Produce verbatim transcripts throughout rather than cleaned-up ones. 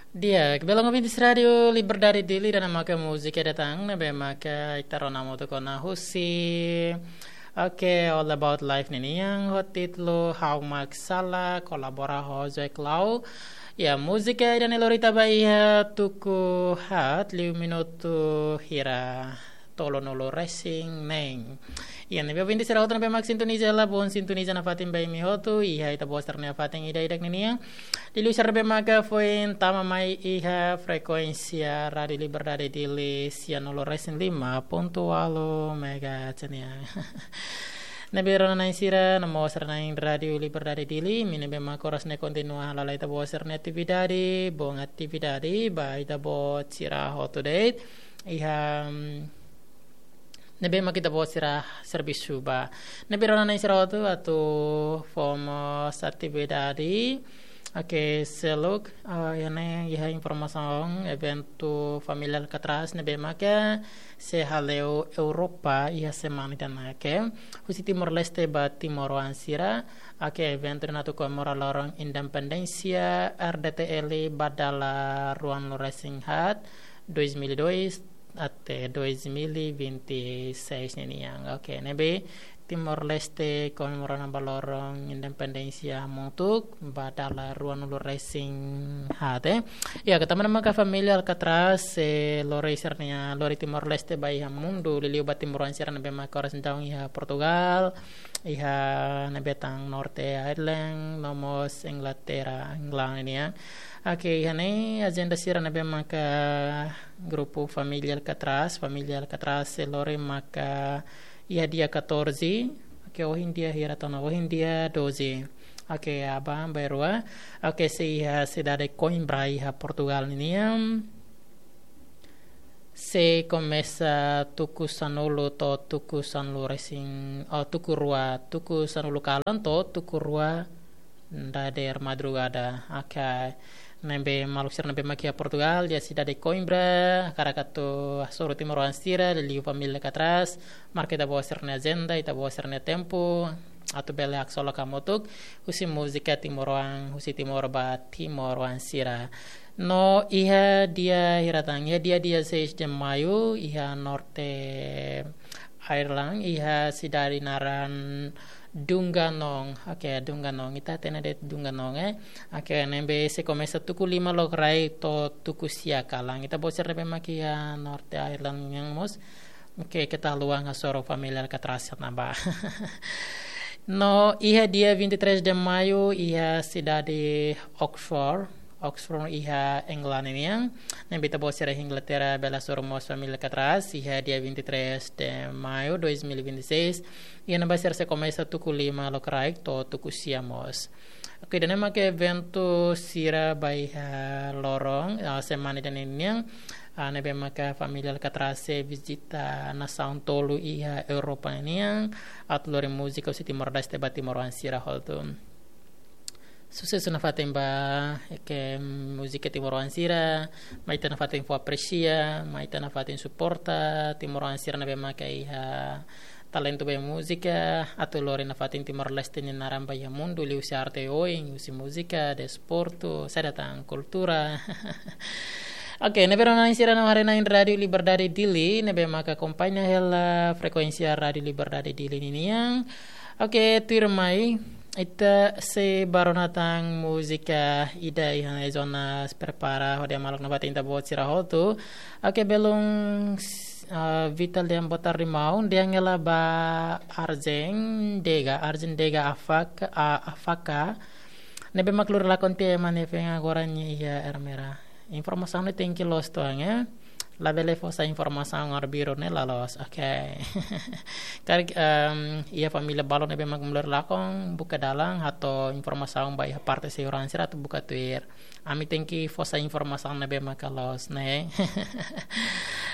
Di'ak, belun ouvintes Rádiu Liberdade Dili, ida-ne'e maka múzika ida tan ne'ebé maka ita rona hamutuk ona husi, oke, All About Life ninian ho títulu Ha'u Mak Sala, kolabora ho Joy Clau. Ya, múzika ida-ne'e lori ita ba iha tuku haat liu minutu hira, tolunulu resin neen. Ya, ne'ebé ouvinte sira hotu ne'ebé mak sintoniza hela, bom sintoniza nafatin ba imi hotu iha ita-boot sira-nia fatin ida-idak ninian. Liuliu sira ne'ebé maka foin tama mai iha frekuénsia Rádiu Liberdade Dili sianulu resin lima pontu ualu megahertz nian. Ne'ebé rona-na'in sira, no mós rona-na'in Rádiu Liberdade Dili, imi ne'ebé maka oras ne'e kontinua hala'o ita-boot sira-nia atividade, bom atividade ba ita-boot sira hotu de'it. Iha, mm, ne'ebé mak ita-boot sira servisu ba. Ne'ebé rona-na'in sira hotu atu fó mós atividade. Oke, seluk, ah, iha ne'e iha informasaun eventu Família Alcatraz ne'ebé maka sei hale'u Europa iha semana ida-ne'e, oke. Husi Timor-Leste ba timoroan sira, oke, eventu ida-ne'e atu komemora loron independénsia R D T L ba dala ruanulu resin haat, dois mil e dois até dois mil e vinte e seis ninian. Oke, ne'ebé Timor-Leste komemora ona ba loron independénsia hamutuk ba dala ruanulu resin haat, eh. Ya, ke tanba ne'e maka Família Alcatraz, eh, lori sira-nia, lori Timor-Leste ba iha mundu, liuliu ba timoroan sira ne'ebé maka oras entaun iha Portugal, iha ne'ebé tan Norte Ireland, no mós Inglaterra, England nian. Oke, iha ne'e ajenda sira ne'ebé maka grupu Família Alcatraz, Família Alcatraz sei lori maka iha dia catorze, oke, ohin dia hira tan ona, ohin dia doze. Oke, aban-bainrua. Oke, sei iha sidade Coimbra iha Portugal ninian. Sei komesa tuku sanulu to'o tuku sanulu resin, oh, tuku rua, tuku sanulu kalan to'o tuku rua dadeer madrugada. Oke. Ne'ebé maluk sira ne'ebé mak iha Portugal, iha sidade Coimbra, hakarak atu hasoru timoroan sira, liuliu Família Alcatraz, marka ita-boot sira-nia ajenda, ita-boot sira-nia tempu, atu bele haksolok hamutuk husi múzika timoroan, husi Timor ba timoroan sira. No iha dia hira tan, iha dia dezasseis de maio, iha Norte Ireland, iha sidade naran Dungannon. Oke, Dungannon. Ita hatene de'it Dungannon, eh. Oke, ne'ebé sei komesa tuku lima lokraik to'o tuku sia kalan. Ita-boot sira ne'ebé mak iha Norte Ireland nian mós, oke, keta haluha hasoru Família Alcatraz iha ne'ebá. No iha dia vinte e três de maio, iha sidade Oxford, Oxford iha England nian. Ne'ebé ita-boot sira iha Inglaterra bele hasoru mós Família Alcatraz iha dia vinte e três de maio dois mil e vinte e seis. Iha ne'ebá sira sei komesa tuku lima lokraik to'o tuku sia mós. Oke, ida-ne'e maka eventu sira ba iha loron, ah, semana ida-ne'e nian, ah, ne'ebé maka Família Alcatraz sei vizita nasaun tolu iha Europa nian, atu lori múzika husi Timor-Leste ba timoroan sira hotu. Susesu nafatin ba, oke, múzika timoroan sira, mai ita nafatin fó apresia, mai ita nafatin suporta timoroan sira ne'ebé maka iha talentu ba múzika, atu lori nafatin Timor-Leste nia naran ba iha mundu, liuhusi arte oioin, husi múzika, desportu, saida tan, kultura. Oke, ne'ebé rona-na'in sira no haree-na'in Rádiu Liberdade Dili, ne'ebé maka akompaña hela frekuénsia Rádiu Liberdade Dili ninian. Oke, tuirmai, ita sei bá rona tan múzika ida iha ne'e Jonas prepara hodi hamaluk nafatin ita-boot sira hotu. Oke, belun, ah, Vital dehan boa tarde maun, dehan hela ba Arjen Dega, Arjen Dega Afak, ah, Afaka. Ne'ebé mak lori lakon tiha ema nia feen agora nia iha Ermera. Informasaun ne'e tenke loos uitoan, eh. Labele fó sai informasaun arbiru ne'e la loos. Oke. Karik, em, iha família balu ne'ebé mak lori lakon, buka dalan, hato'o informasaun ba iha parte seguransa atu buka tuir. Ami tenke fó sai informasaun ne'ebé maka loos, ne'e.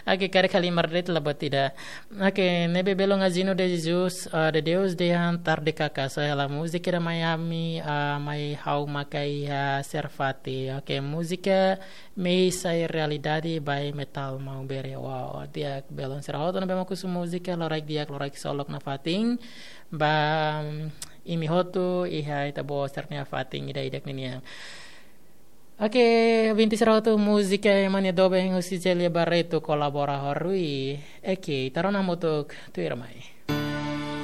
Oke, karik halimar de'it la buat ida. Oke, ne'ebé belun Agino de Jesus, eh, de Deus dehan tarde kaka, só hela múzika ida mai ami, ah, mai ha'u maka iha Serfati. Oke, múzika Mehi Sai Realidade by Metal Maubere. Wow, di'ak belun sira hotu ne'ebé mak husu múzika, loraik di'ak, loraik ksolok nafatin. Ba, mm, imi hotu, iha ita-boot sira-nia fatin ida-idak ninian. Oke, ouvinte sira hotu, múzika ema nia doben husi Célia Barreto kolabora ho Rui. Oke, ita rona hamutuk tuirmai.